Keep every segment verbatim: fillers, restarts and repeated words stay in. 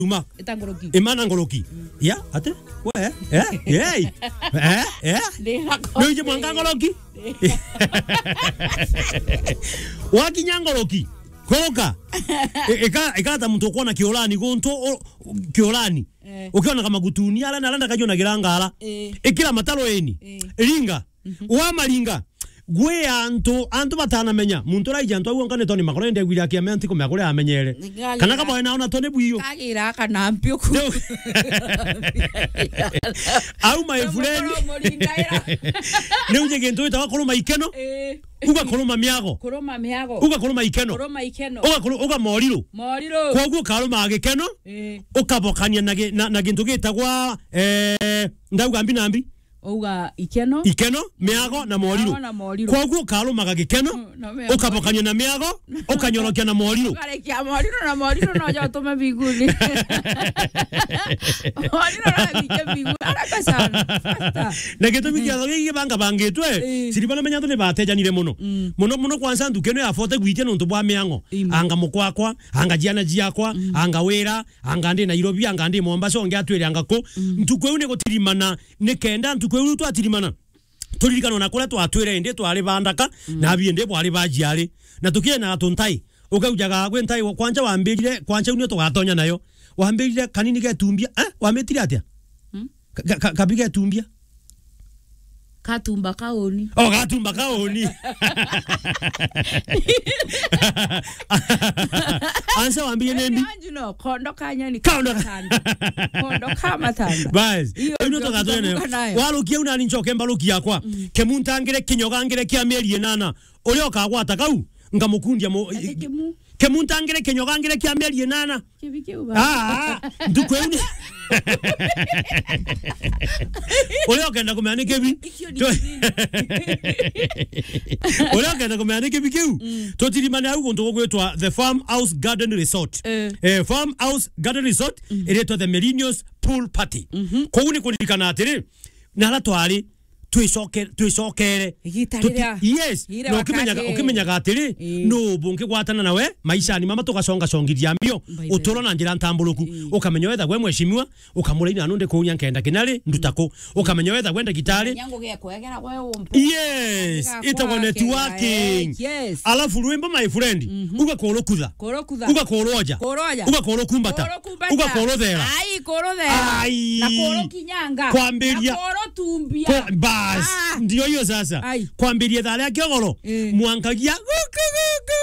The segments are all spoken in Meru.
Uma. Ita ngoroki. Imana ngoroki. Ya, ate? We, eh? Eh? Eh? Eh? Ni ngoroki. Ni uje mwanga ngoroki? Wakinya ngoroki. Koka. E-, eka, eka ta muntu ukuona kiurani guntu, u-, kiurani. Eh. Ukiona kama gutuni, ala na ala ndakajua na girangara. Eh. Ikira mataro eni. Eh. Ringa. Mhm. Wamaringa. Gwi antu, antu batanamenya. Muntu raija antu au onka ni toni makoro ende gwira kiame anti kumea kuria amenyere. Kana kaba wena ona toni bwiyo. Kagira kana mpio ku. Au my friend. Ni uje gintu witawa kuruma ikeno. Eh. Uga kuruma miago. Kuruma miago. Uga kuruma ikeno. Kuruma ikeno. Uga kuru-, uga moriro. Moriro. Koguo karuma gikeno. Eh. Ukabokania na gi-, na, na gintu gitagwa, eh, ndauga mbi na mbi. Uga ikeno. Ikeno, miago na moriro. Miago na moriro. Koguo ukarumaga gikeno, mm, na miago. Ukabokania na miago, ukanyorokia na moriro. Ukarekia moriro na moriro no ja utume mbinguni. Moriro no abike mbinguni. Haraka sana. Faster. Na gitumi kia thogi gibanga bangitwe, eh, siriba na menya antu ni batejanire muno. Mm. Muno muno kwanza ntuku ino ya forty gwitia nontu bwa miango. Imo. Anga mukwakwa, anga jiana jiakwa, mm, anga wira, anga ndi Nairobi, anga ndi Mombasa, ongi atwire anga ku. Mm. Ntuku iu ni gutirimana, ni kenda ntuku iu twatirimana, turirikanwa na kuria twatwire indi twari ba ndaka, mm, na abi indi bwari ba jiari. Na tukiena tuntai, ukaujaga gwi ntai wa kwanja wambirire, kwanja iu nio tugatonya nayo. Wambirire kanini getumbia, eh? Wamitire atia? Mm. Ka-, ka-, ka-, kabi getumbia. Katumba kauni. Oh, gatumba kauni. Ansa wambie nembi. Anju no, kondo ka nyani. Kondo ka matanda. Kondo ka matanda. Bas. Iyo ndio tugatwene. Warukia una ni nchoke mbarukia kwa. Mm. Kemuntangire kinyoga ngire kia mieri inana. Uria ukagwata kau, ngamukundia mu-, ati kimu. Kemuntangire kinyoga ngire kia mieri inana. Kibi kiu ba. Ah, ah, ntuku iu ni. Uria ukenda kumenya ni kibi. Ikio ni kibi. Uria ukenda kumenya ni kibi kiu. Mm. Tutirimane au guntu gugwitwa The Farm House Garden Resort. Eh. Eh, Farm House Garden Resort, mm, iretwa The Millennials Pool Party. Mhm. Kuu ni kuririkana atiri, na ala twari twicoke-, twicokere. Igita riria, yes, riria no ukimenyaga, ukimenyaga atiri, ii, no bungigwatana nawe maishani mama, tugaconga congithia mbio, by the way, uturo na njira ntamburuku. Ii. Ukamenya wetha gwe mheshimiwa, ukamuraina anu ndi kuunya nkenda kinari, nduta ku. Ukamenya wetha gwe ndagitari. Yes, itagwa networking. Yes. Alafu rwimbo, my friend, mhm, uga kurukutha. Kurukutha. Uga kuroja. Kuroja. Uga kurukumbata. Kurukumbata. Uga kuruthera. Ai, kuruthera. Ai. Na kurukinyanga. Kwambiria. Na kurutumbia. Kwa-, bas. Ah. Ndio hiyo sasa. Ai. Kwambiria thaa ria kiogoro. Eh. Mwankagia guku guku.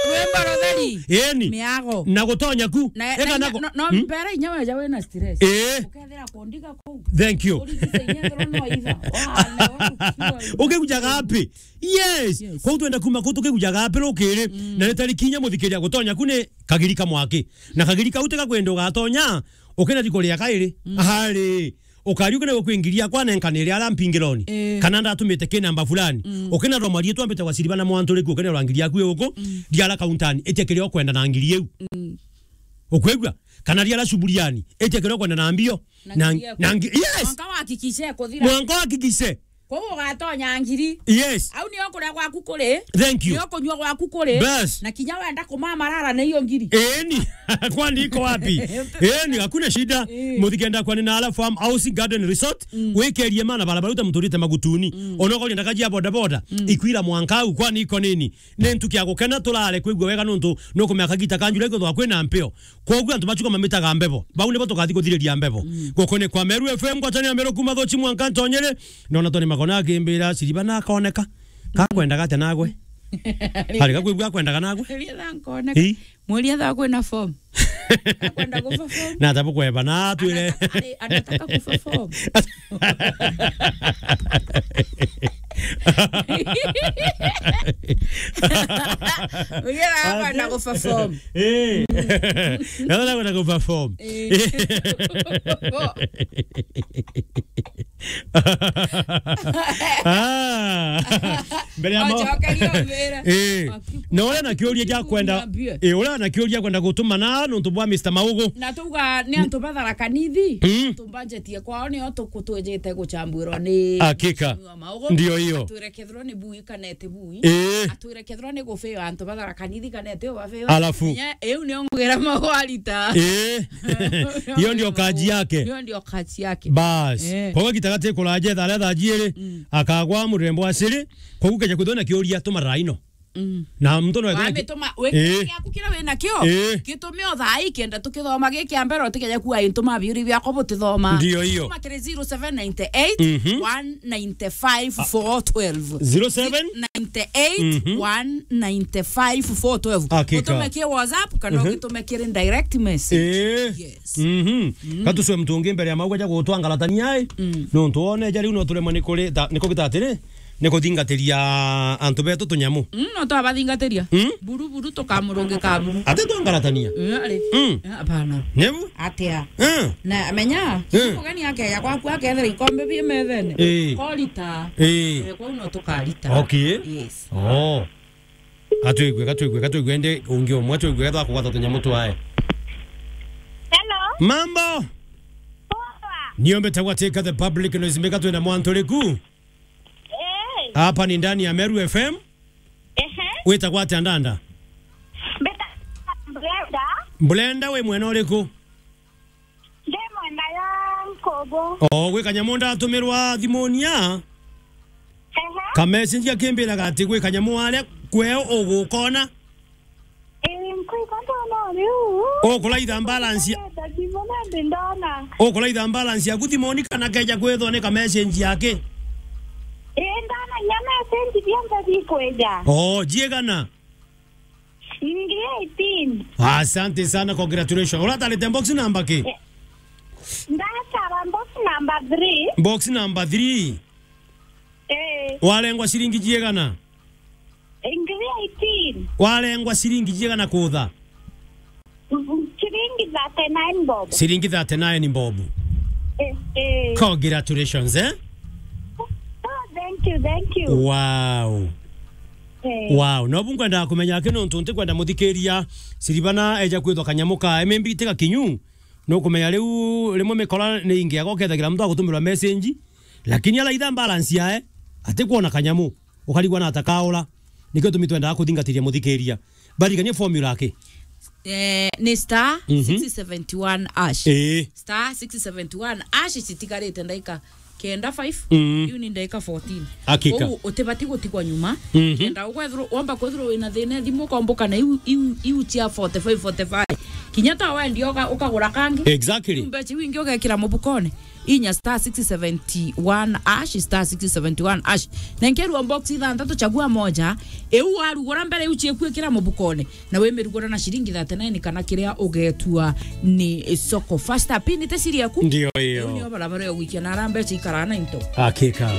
Rwimbo rutheri. Eni. Miago. Na gutonya ku. Na, eka na, nako, no, no, hmm? Mbere inya weja wina stress. Eh. Ukethira kundiga kuu. Thank you. Urigise inya thoro no itha. Wa, na wa, ukigujaga api? Yes. Yes. Kwou twenda kuma kuu tukigujaga api rukiri? Mm. Na ni tariki inya muthikiria gutonya ku ni kagiri ka mwaki. Na kagiri kau tiga kwenda ugatonya, ukina riko ria kairi. Mm. Hari. Ukari ukina gwe kwingiria kwa nenkanire ara mpingironi. Eh. Kana ndatumite ki namba fulani. Mm. Ukina rwa marie twambite gwa siriba na mwantu riku ukina rwa ngiri yaku iuku. Mm. Riara kauntani. Itia kiria ukwenda na ngiri iu. Mm. Ukwigua? Kana riara cuburiani. Itia kiria ukwenda na mbio. Na, na ngiri yaku. Na ngi-, yes. Mwanka wahakikishe kuthira. Mwanka wahakikishe. Kwou ugatonya ngiri. Yes. Au nio kuria gwaku kuri. Thank you. Nio kunyua gwaku kuri. Bas. Na kinya wenda kumamarara na iyo ngiri. Eni. Kwani iko wapi? Eni, hakuna shida. Eh. Muthikenda kwani na ala Farm House Garden Resort. Mm. Wikerie mana barabara uta muturite magutuni. Mm. Ona ukoria ndakaji ya boda boda. Mm. Ikwira mwanka au kwani iko nini? Ni ntuki ya gukena, turare kwigua wega nontu nukumenya kagita ka July kwithagwa kwina mpio. Kwoguo antu bachuka mamitaga mbebo. Bau nibo tugathi kuthiriria mbebo. Mm. Guku ni kwa Meru F M, ngwataniro ya Meru kuma Thuchi mwanka Ntonyere. Nona toni makona akimbira siriba na akoneka. Kakwendaga atia nagwe? Hari gakwigua akwendaga nagwe? Rietha nkoneka. Ii. Mwirie thaa kwina form. Akwenda kuperform. Na atabu kweba na atwire. Anata-, ari-, anataka kuperform. Ugira akwenda kuperform. Eh. Na akwenda kuperform. Eh. Ah. Mbere ya ma- Ocokeria wira. Eh. Aki- Na uria na kiuria gia kwenda, Niambie. Eh, uria na kiuria kwenda gutuma na nontu bwa Mister Maugu. Na tuga ni antu ba Tharaka Nithi. Mm. Antu budget ya kwao nio tukutwijite gucambwirwa ni Hakika. Mheshimiwa Maugu. Ndio hiyo. Atwire kethirwa ni bui kana eti bui. Eh. Atwire kethirwa ni gufeo antu ba Tharaka Nithi kana eti ubafeo. Alafu. Iu nio ngugira Maugu arita. Eh. Hiyo ndio kazi yake. Hiyo ndio kazi yake. Bas. Eh. Kwa gitagati kuraje thare thaa jiiri, Mm. akagwa murembo wa siri, kwa gukeja kwithwa na kiuria tuma raino. Mm. Na mtu no Wamituma, wikira Eh. giaku kiria wina kio, Eh. gitume o thaa ii kenda tukithoma giki a mbere, utikeja kuwa into mabiuri biakwa butithoma. Ndio hiyo. Tuma kiri zero seven nine eight, Mhm. one nine five, four twelve. Zero seven? Nine eight, Mhm. one nine five, four twelve. Hakika. Utume ki WhatsApp kana Mhm. ugitume kiri direct message. Eh. Yes. Mhm. Mm. Gatuswe mtu ungi mbere ya Maugu aja gutwangaratania ai. Mm. Nontu wone ja riu no turemwe ni kuri ta-, ni kugita atiri, ni kuthingatiria antu betu tunyamu. Mm, no twabathingatiria. Mm? Buru buru tukamurungika buru. Ati twangaratania? Mm, ari. Mm. Eh, hapana. Nebu? Atia. Mm. Na menya, Mm. mugeni akeja kwaku akethira ikombe bi methene. Eh. Korita. Eh. Eh, kwau no tukarita. Okay. Yes. Oh. Gatwigue, gatwigue, gatwigue, ende ungi umwe, gatwigue, gatwa kugwata tunyamu twae. Hello. Mambo? Poa. Niombe tagwa take the public noise, mbika twina mwantu riku. Eh. Hapa ni ndani ya Meru F M. Ehe. Witagwa atia ndanda? Mbeta Brenda. Brenda, wi mwena uriku? Ndi mwena ya Nkobo. O, gwi kanyamu ndatumirwa thimuni ya? Ehe. Ka message akimbiraga ati gwi kanyamu aria kweo ugukona. Ii, nkwigua ndona uriu. Ukuraitha balance ya- Ndona thimuni ndi ndona. Ukuraitha balance yaku thimuni kana keja kwithwa ni ka message yake? Ii, ndona nya message bionthe bikwija. O, jiegana? Ngiri eighteen. Asante sana, congratulations. Uratarite box number ki? Eh, ndatara box number three. Box number three. Eh. Warengwa ciringi jiegana? Ngiri eighteen. Warengwa ciringi jiegana kutha? Mm, ciringi thirty-nine bob. Ciringi thirty-nine bob. Eh, eh. Congratulations, eh? Oh, thank you, thank you. Wow. Eh. Wow. No bu nkwendaga kumenya aki nontu ntikwenda muthikiria Siribana eja kwithwa kanyamu ka M M B tiga kinyu. Nukumenya riu rimwe mikora ni ingiaga ukethagira muntu agutumirwa message, lakini araitha balance yae, atikwona kanyamu, ukarigwa na atakaura. Nikio tumi twendaga kuthingatiria muthikiria. Barigania formula aki? Eh, ni star Mhm. six seventy-one hash. Ii. Star six seventy-one hash citigarite ndaika kenda five, Mm. riu ni ndaika fourteen. Hakika. Koguo utibati gutigwa nyuma. Mhm. Kenda ukwethirwa, womba kwethirwa wina thina thimu, ukomboka na iu, iu, iu cia forty-five, forty-five. Kinya ta wendia uka-, ukagura kangi. Exactly. Riu mbeca iu ingi ugekira mubukone. Inya star six seventy-one hash, star six seventy-one hash. Na nkerua box ithanthatu, chagua moja. Iu warugura mbere, iu ciekua ikira mubukone. Na wimirugura na ciringi thirty-nine kana kiria ugetua ni soko. Faster pin te siri yaku. Ndio hiyo. Iu nio barabara ya gwikia na ara mbeca ikara na into. Hakika.